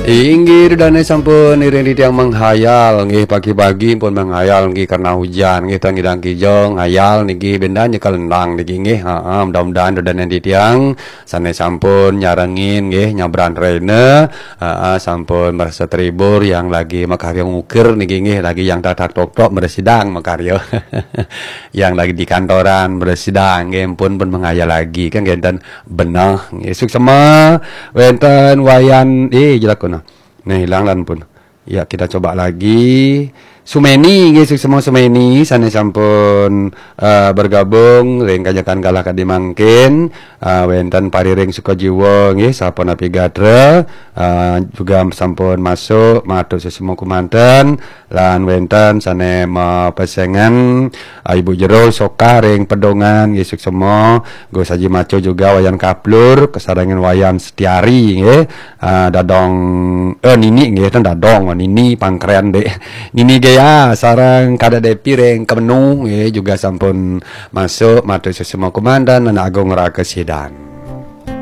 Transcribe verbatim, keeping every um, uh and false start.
Inggih, dane sampun iring titiang menghayal nggih, pagi-pagi pun menghayal nggih karena hujan nggih, tang ngidang kijang hayal niki benda nyekel endang niki nggih. Heeh, mudah-mudahan dane titiang sane sampun nyarengin nggih nyabran rene, heeh, sampun merasa terhibur, yang lagi makarya ngukir niki nggih, lagi yang tatak tok-tok meresidang makarya. Yang lagi di kantoran meresidang nggih, pun pun menghayal lagi kan ngenten benah nggih. Suksema wenten Wayan, eh, jelakuna. Nah, hilang lan pun. Ya, kita coba lagi. Sumeni nggih, suksema Sumeni sane sampun, eh, bergabung ring kajakan galah kadi mangkin. Eh, wenten Pariring Sukajiwa nggih, sapunapi gatra, eh, juga sampun masuk, matur suksema kumanten, lan wenten sane mapesengan, eh, Ibu Jero Sokah ring Pedongan nggih, suksema, Gus Haji Maco juga Wayan Kaplur, kesarengan Wayan Setiari nggih. Ah, dadong, eh, nini nggih, ten dadong, nini pangkren dek. Nini Gea sareng kada Depi ring Kemenu nggih, juga sampun masuk, matur suksema kumanten, Anak Agung Raka Sidan.